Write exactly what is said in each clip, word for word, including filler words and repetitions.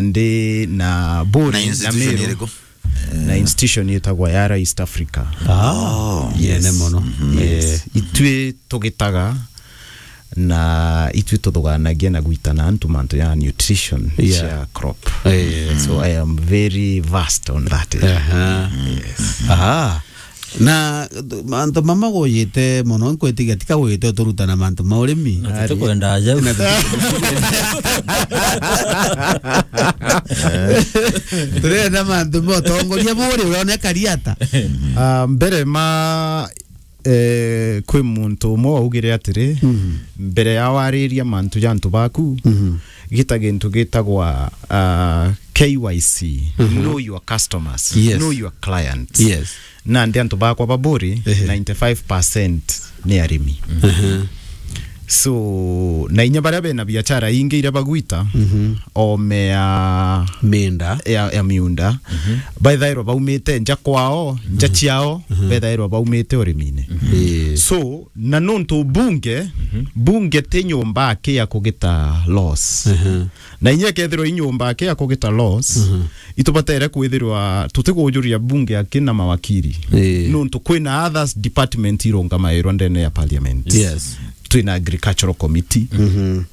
ndi na Buri, na institution Meru, iriku? Na institution yetagwa Yara East Africa. Ah, oh, yes. Nene mono. Yes. Eh. Itwi tugitaga na itwi tuthuganagia na gwitana antu mantu ya nutrition, yeah, cia crop. Eh. So I am very versed on that area. Aha. Yes. Aha. Na mantu mama guyite mono, nkwitigia tika guyite uturutana mantu ma urimi. Na tutikwenda aja. Na tuti- Turenda mantu ma utongoria Buri, urone kariata. Ah, mbere ma, eh, kwi muntu umwe waugire atiri, mhm, mbere ya wariria mantu ja antu baku, mhm, gita gintu gitagwa, ah, K Y C, mhm, know your customers, yes, know your clients. Yes. Na ndi antu bakwa ba Buri, ehe, ninety-five percent ni arimi. Ehe. So, na inya baria bena biachara ingi iria bagwita, mhm, ome ya miunda, ya, ya miunda, mhm, bethairwa baumite nja kwao, nja, mhm, ciao, mhm, bethairwa baumite urimine. Mhm. Eh. So, na nontu bunge, mhm, bunge ti nyomba aki ya kugita laws. Ehe. Na inya ikethirwa i nyomba aki ya kugita laws, mhm, itubatere kwithirwa tutikujuria bunge aki na mawakiri. Ii. Nontu kwina others department irungamairwa ndene ya parliament. Yes. Twina agricultural committee. Mhm.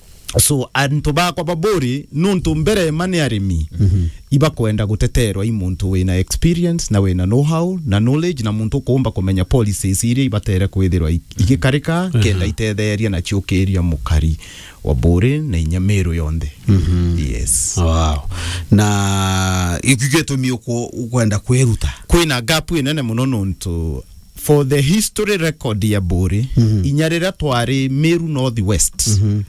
So, antu bakwa ba Buri, nontu mbere ma ni arimi, mhm, ibakwenda guteterwa i muntu wina experience, na wina know-how, na knowledge, na muntu ukuumba kumenya policies iria ibatere kwithirwa i-, igikarika, mhm, kenda itetheria na ciukiria mukari wa Buri na inya Meru yonthe. Mhm. Yes. Wow. Na giki gitumi uku-, ukwenda kwiruta? Kwina gap inene mono nontu for the history record ya Buri, mhm, inya riria twari Meru North West, mhm,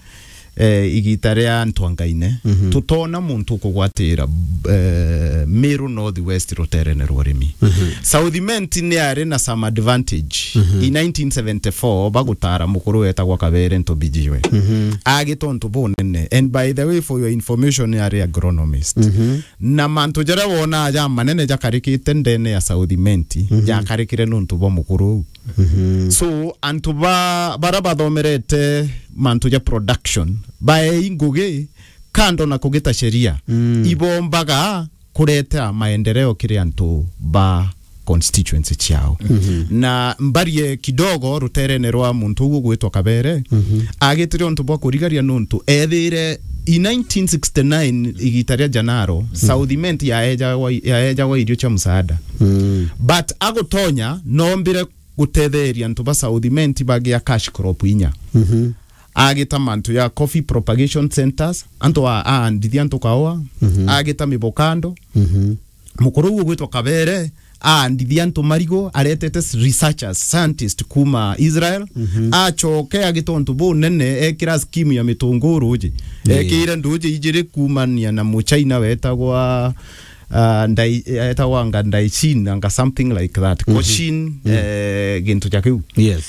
eh, igita ria Ntwangaine, mhm, tutona muntu ukugwatira, eh, Meru North West ruterene rwa urimi. Mhm. South Imenti ni ari na some advantage. Mhm. In nineteen seventy-four, bagutara mukuru wetagwa Kabere Ntobijiwe. Mhm. Agita untu bunene. And by the way, for your information, ni ari agronomist. Mhm. Na mantu jaria wonaa ja manene jakarikite ndene ya South Imenti, mhm, jakarikire nontu bwa mukuru uu. Mhm. So, antu ba-, bara bathomerete mantu ja production, baei ngugi, kando na kugita sheria, mm, ibombaga kureta maendeleo kiri antu ba constituency ciao. Mhm. Na mbarie kidogo ruterene rwa muntu uu ugwitwa Kabere, mhm, agitire untu bwa kurigaria nontu ethire in nineteen sixty-nine igita ria Janaro, mhm, South Imenti yaejagwa, yaejagwa irio cia msaada. Mm. But agutonya, nombire gutetheria antu ba South Imenti bagia cash crop inya. Mhm. Agita mantu ya coffee propagation centers, antu a-, aandithia antu kaua, mhm, agita mibokando. Mhm. Mukuru uu ugwitwa Kabere, aandithia antu marigu, aretete s-, researchers, scientists kuma Israel, mhm, acoke agita untu bunene, ekira scheme ya mitunguu ruji. Ii. Ekire nduji ijiri kumania na Muchina wetagwa, ah, Ndai-, etagwa anga Ndaichin, anga something like that. Mhm. Cochin, mm, eh, gintu ja kiu. Yes.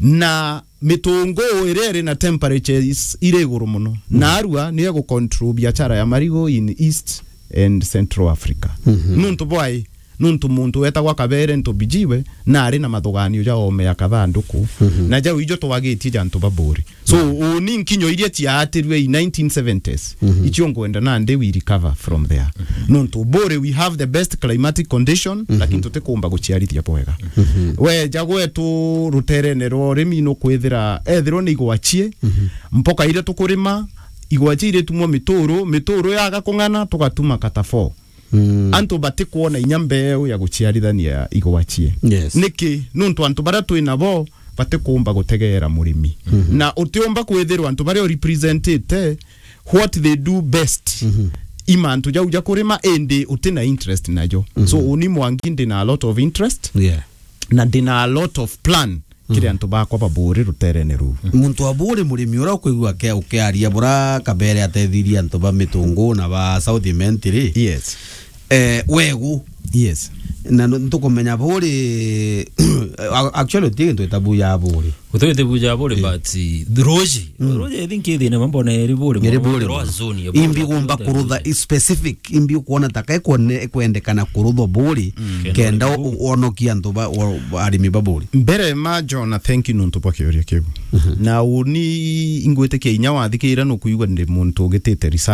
Na mitunguu iria iri na temperatures iri iguru mono. Mm. Na arua ni egu control biashara ya marigu in East and Central Africa. Mhm. Nuntu bwai, nuntu muntu wetagwa Kabere Ntobijiwe na ari na mathuganio ja ome ya kathanduku. Mhm. Na jau ijo twagitie ja antu ba Buri. So, mhm, uni nkinyo iria ciaatirue in nineteen seventies, mhm, icio ngwenda nandi we recover from there. Mhm. Nontu Buri, we have the best climatic condition, mhm, lakini tutikumba guciarithia bwega. Mhm. Weja gwetu ruterene rwa urimi nukwithira, ethirwa ni igwa cie, mhm, mpoka iria tukurima, igwa cie iritumwa mituru, mituru yaga kung'ana, tugatuma kata four. Mm. Antu batikwona inya mbeu ya guciarithania igwa cie. Yes. Niki? Nontu antu baria twi nabo batikumba gutegeera murimi. Mhm. Na utiumba kwithirwa antu baria urepresentite, what they do best, mhm, i mantu jau ja kurima, indi uti na interest najo. Mhm. So, uni Mwangi ndi na a lot of interest. Yeah. Na ndi na a lot of plan kiri, mhm, antu bakwa ba Buri ruterene ruu. Muntu wa Buri, murimi uria ukwigua ake-, ukiaria bura Kabere atethirie antu ba Mitungu na ba South Imenti ri? Yes. Eh, wegu. Yes. Na nu-, ntukumenya Buri, a-, actually, uti gintu gitabuja Buri. Uti gintu gitabuja Buri, eh, but, eh, ruji. Mm. Ruji, I think, ithine mambo na iri Buri. Iri Buri. Imbi ugomba kurutha specific, imbi ukwona ta kai kwone-, kwendekana kuruthwa Buri, mm, kenda u-, uonokie antu ba, wa, arimi ba Buri. Mbere ma John, thank you nontu bwa kiuria kiu. Mhm. Na uni ingwitikia inya wathikira nukuigua ndi muntu ugitite research.